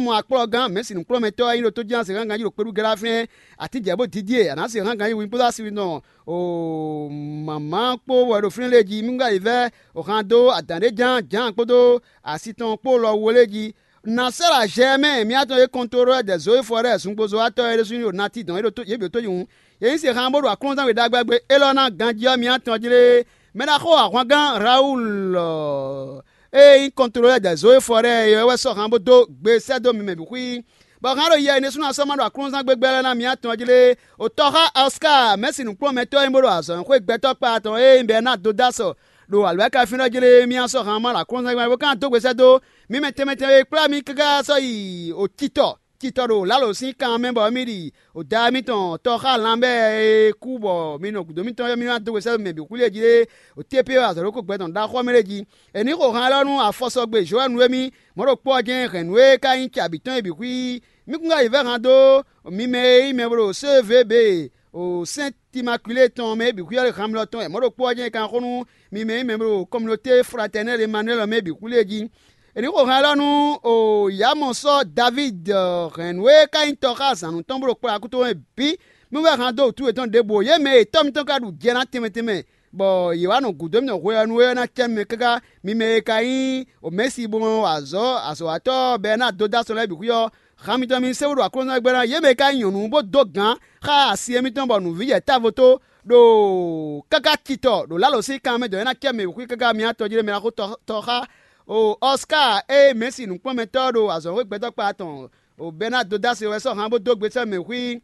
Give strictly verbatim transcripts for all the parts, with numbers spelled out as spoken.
Mɔ akplɔ́gán mɛ̌si nǔkplɔ́nmɛtɔ́ e nyí ɖo tójíhánzehángan jí ɖo kpéɖu glá fínɛ́, atínjɛ̌ bó dídí e, a nǎ se hángan yi winbúdá si nɔ o mǎmá kpó wɛ ɖo fínɛ́ lée jí. Mí wá yi vɛ́ o han dó adǎn ɖé ján Jǎan kpódó asi tɔn kpó lɔ wu lée jí. Nǎ sɛ́ ɖo azɛ mɛ mǐ atɔn e kɔntlolɔ́ dɛ̌ Zoyífɔ lɛ́ɛ zungbozɔ́watɔ́ é ɖésú nyí ɖo nati dɔn yě ɖo yě bǐ ɖo tóyihún. Yě nyí sixan bó ɖo aklúnɔzán we ɖagbe élɔ́ ná ganjí ɔ́ mǐ atɔn jlé. Mɛ ɖaxó ahwangán Rawulu ée nyí kɔntlolɔ́ dɛ̌ Zoyífɔ lɛ́ɛ é wɛ sɔ́ han bó dó gbe sɛ́ dó mi mɛ bǐ xwí. Bɔ hán ɖo yɛ e ɖésú ná sɔ́ ma ɖo aklúnɔzán gbégbé lɛ́ɛ ná mǐ atɔn jlé. Otɔ́xá Ɔská mɛ̌si nǔkplɔ́nmɛtɔ́ e nyí bó ɖo azɔ̌ xwé gbɛtɔ́ kpá tɔn e nyí Bɛnádo dó asɔ ɖo alwɛ̌kafínɛ́ jlé mì sɔ́ han ma ɖo aklúnɔzán gbégbé bó ka ná dó gbe sɛ́ dó mǐ mɛ tɛnmɛ tɛnmɛ e kplá mì káká sɔ́ yi otitɔ titɔ ɖo lǎlo sín kan mɛ bɔ mì ɖi oda mitɔn tɔxá lanbɛ́ e kú bɔ mi nɔ gǔdo mitɔn ɔ́ mi ná dó gbe sɛ́ mɛ bǐ xwlí e jí ɖé otépe azɔ̌ ɖokpó gbɛ tɔn ɖaxó ɔ́ mɛ ɖé jí. È nǐ xo han élɔ́ nú afɔsɔgbe Jowɛ́nu émí, mɔ̌ ɖokpó ɔ́ jɛ́n hɛ̌nnu e ka nyí cɛ abǐ tɔn é bǐ xwí. Mí kún ka yi vɛ́ han dó mi mɛ e nyí mɛ bó ɖo sévébe o sɛ́n Timakwilée tɔn mɛ é bǐ xwí ɔ́ hanmlɔ tɔn wɛ mɔ̌ ɖokpó ɔ́ jɛ́n è kan xo nú mi mɛ e nyí mɛ bó ɖo kɔminoté fratɛnɛ́l Emanuwɛ́li ɔ́ mɛ é bǐ xwlí e jí. È nǐ xo han élɔ́ nú o Yǎmɔsɔ́ Davídi hɛ̌nnu e ka nyí tɔxázǎnnú tɔn bó ɖo kplɔ́ akúto mɛ bǐ. Mí wɛ han dó wǔtu yětɔn ɖěbǔ yě mɛ e tɔ́ mitɔn ka ɖu jɛ ná tɛnmɛ tɛnmɛ, bɔ yě wá nɔ gǔdo mì ɖɔ hweyɔ́nú e ná cɛ nú mi káká mi mɛ e ka nyí Omɛ̌si bó nɔ wa azɔ̌ azɔ̌watɔ́ bɔ é ná dó dó asɔ lɛ́ɛ bǐ xwí ɔ́, han mitɔn mi sé bó ɖo aklúnɔzán gbɛ́ ná yě mɛ e ka nyí nyɔ̌nu bó dó gǎn xá asi émítɔn bɔ nǔvíjɛ távo tó ɖo káká titɔ ɖo lǎlo sín kan mɛ dɔn é ná cɛ mɛ bǐ xwí káká mi atɔn jí ɖé mɛ ná xó tɔ xá o Ɔská e Mɛ̌si nǔkplɔ́nmɛtɔ́ ɖo azɔ̌xwé gbɛtɔ́ kpa tɔn o Bɛnádo dó asɔ wɛ sɔ́ han bó dó gbe sɛ́ mɛ xwí.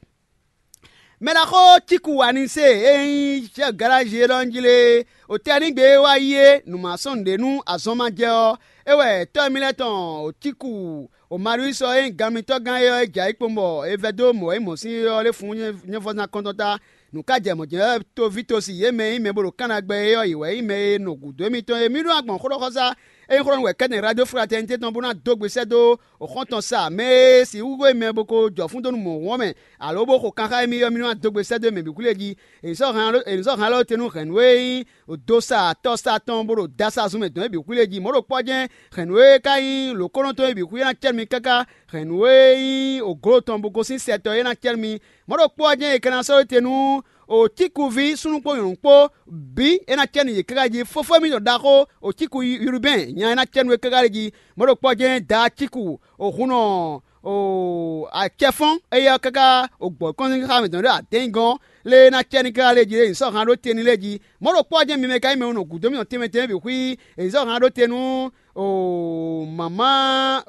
Mɛ ná xó Cíku wa ní se e nyí chɛ́f galázi élɔ́ jí lé, o tɛ́nígbe e wá yí é nǔ ma sɔ́ nǔɖé nú azɔn ma jɛ ɔ́, é wɛ tɔ́ mì lɛ́ɛ tɔn o Cíku o Mariwúsi ɔ́ e nyí ganmitɔ́gán é ɔ́ é jɛ ayǐ kpowun bɔ è vɛdó mɔ̌ e mɔ̌ sín é ɔ́ lé fun nyɛ́vɔ́zán kɔ́ntɔn ta. Nǔ ka jɛ mɔ̌ jɛ́n wɛ toví tosi yě mɛ e nyí mɛ bó ɖo Kana gbɛ é ɔ́, yě wɛ nyí mɛ e nɔ gǔdo émítɔn e mǐ ɖó agbɔ̌n xó ɖɔ xɔsá e nyí xó ɖɔ nú wɛ kɛ́tɛn Radio Fraternité tɔn bó ná dó gbe sɛ́ dó xɔ́ntɔn sa mɛ e sixú hwé mɛ bó ko jɔ fún dó nú mɔ̌hun ɔ́ mɛ, alo bó xo kanxá émí ɔ́, mì nɔ wá dó gbe sɛ́ dó mɛ bǐ xwlé jí. È nǐ sɔ́ hɛn alɔ te nú hɛ̌nnu e nyí dosa tɔsa tɔn bó ɖo dasa zun mɛ dɔn é bǐ xwlé jí. Mɔ̌ ɖokpó ɔ́ jɛ́n hɛ̌nnu e ka nyí lǒkɔ́nɔtɔn é bǐ xwlé ná cɛ́ nú mi káká. Hɛ̌nnu e nyí ògló tɔn bó gosín sɛ tɔn é ná cɛ́ nú mi. Mɔ̌ ɖokpó ɔ́ jɛ́n è ka ná sɔ́ we te nú Otíkuví súnnu kpó nyɔ̌nu kpó bǐ é ná cɛ nú yě káká jí. Fofó émítɔn ɖaxó Otíku Yurubɛ́n nya é ná cɛ nú é káká lé jí. Mɔ̌ ɖokpó ɔ́ jɛ́n Daacíku òhunnɔ acɛfɔ́n éyɛ́ ɔ́ káká ògbɔ kɔ́nzínxá mǐtɔn ɖo adɛ̌nyi gɔ́n lé é ná cɛ nú káká lé jí é nyǐ sɔ́ han ɖó te n'i lé jí. Mɔ̌ ɖokpó ɔ́ jɛ́n mi mɛ ka nyí mɛ e nɔ gǔdo mítɔn tɛnmɛ tɛnmɛ bǐ xwí è nyǐ sɔ́ han ɖó te nú mama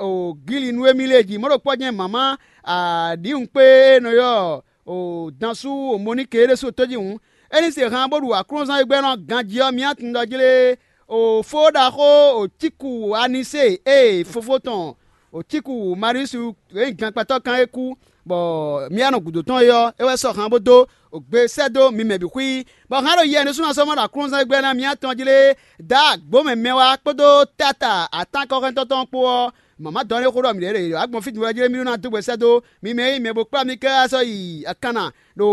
Gíli nú émí lé jí. Mɔ̌ ɖokpó ɔ́ jɛ́n mama aɖǐwunkpé e è nɔ ylɔ́ o dan sú o Moníke é ɖésú tójí hǔn, é ní se han bó ɖu aklúnɔzán e gbɛ́ nɔ ganjí ɔ́ myá tundɔ jlé o fó ɖaxó o Cíku Anisée e fofó tɔn o Cíku Mariusu e nyí gankpatɔ́ kan é kú, bɔ myá nɔ gǔdo tɔn é ɔ́, é wɛ sɔ́ han bó dó o gbe sɛ́ dó mi mɛ bǐ xwí, bɔ hán ɖo yɛ ɖésú ná sɔ́ mɔ ɖo aklúnɔzán e gbɛ́ ná myá tɔn jlé dǎ agbǒ mɛ mɛ wá kpódó táta atánkɔ́hɛntɔ́ tɔn kpó ɔ́, mama dɔn ɖé xó ɖɔ mǐ ɖě ɖe agbɔn fí din wɛ jlé mì ɖó ná dó gbɛ sɛ́ dó mi mɛ e nyí mɛ bó kplá mì káká sɔ́ yi akanna ɖo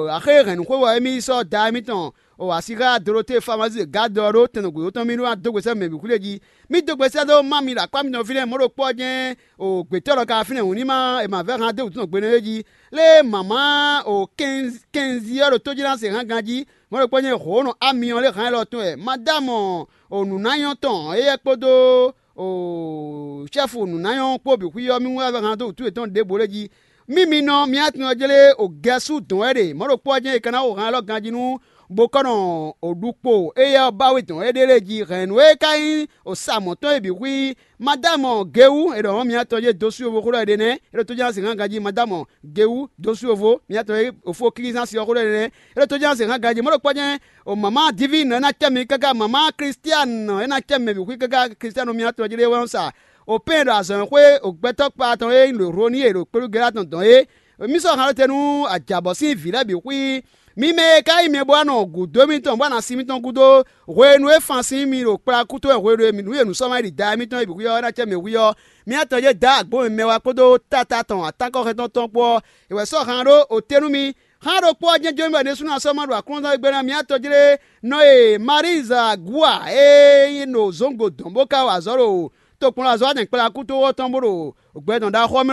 axé hɛ̌nnúxwé wɛ émí yi sɔ́ da émítɔn o asíxá Dolotée Famazi Gado ɔ́ ɖó tɛn nɔ gǔdo tɔn mì ɖó ná dó gbɛ sɛ́ mɛ bǐ xwlé jí. Mì dó gbɛ sɛ́ dó má mi ɖo akpá mitɔn fínɛ́ mɔ̌ ɖokpó ɔ́ jɛ́n o gbětɔ́ lɔ ka fínɛ́ hǔn ní má è ma vɛ́ han dó wǔtú tɔn gbe nɛ́ jí. Lé mama o kɛnzi ɔ́ ɖo tójíná se hán ganjí, mɔ̌ ɖokpó jɛ́n hǒnɔ ami ɔ́ lé han élɔ́ tɔn wɛ. Madámɔ o nǔnáyɔ́ tɔn éyɛ́ kpódó o sɛ́fu nǔnáyɔ́ kpó bǐ xwí ɔ́ mì wá vɛ́ han dó wǔtú yětɔn ɖěbǔ lé jí. Mì mi nɔ mì atun ɔ́ jlé o gɛ́sú dɔn wɛ ɖe mɔ̌ ɖokpó ɔ́ jɛ́n è ka ná xo han élɔ́ ganjí nú bo kɔ́ nɔ o ɖukpo éyɛ́ ɔ́ ba we dɔn éɖée lé jí hɛ̌nnu e ka nyí o sa mɔ̌ tɔn é bǐ xwí. Madámɔ Gewu è ɖɔ mɔ̌ mì atɔn jɛ́n dó sú yovo xó ɖɔ é ɖe nɛ́ é ɖo tó jɛ́n ná sixú ganjí Madámɔ Gewu dó sú yovo mì atɔn e òfó Klízánsi ɔ́ xó ɖɔ é ɖe nɛ́ é ɖo tó jɛ́n ná sixú ganjí mɔ̌ ɖokpó jɛ́n o mama Divine é ná cɛ mi káká mama Kristiane é ná cɛ mɛ bǐ xwí káká Kristiane mì atɔn jlé wɛ ɔ́ sa o pɛ́n ɖo azɔ̌xwé o gbɛtɔ́ kpa tɔn e nyí ɖo Hloni e ɖo kpéɖugɛ́ tɔn dɔn é. Mì sɔ́ han ɖó te nú ajǎbɔ sín vǐ lɛ́ɛ bǐ xwí. Mi mɛ e ka nyí mɛ bó wá nɔ gǔdo mitɔn bó wá nɔ asi mitɔn gúdo hwenu e fan sín mi ɖo kplá kútɔ́ wɛ hwenu e nǔ e nǔ sɔ́ ma yi ɖi da mitɔn e bǐ xwí ɔ́ é ná cɛ mɛ hwí ɔ́, mi atɔn jɛ́n da agbǒ mɛ mɛ wá kpódó táta tɔn atánkɔ́hɛntɔn tɔn kpó ɔ́, è wɛ sɔ́ han ɖó o te nú mi. Hán ɖokpó ɔ́ jɛ́n jó mɛ ɖésú ná sɔ́ ma ɖo aklúnɔzán e gbé ná mi atɔn jlé nɔ e Maríza Gúa e nyí ɖo zǒngo dɔn bó ka wa azɔ̌ ɖo tokpɔnlazɔ́ atɛn kplá kútɔ́ ɔ́ tɔn bó ɖo gbɛ tɔn ɖaxó ɔ́ mɛ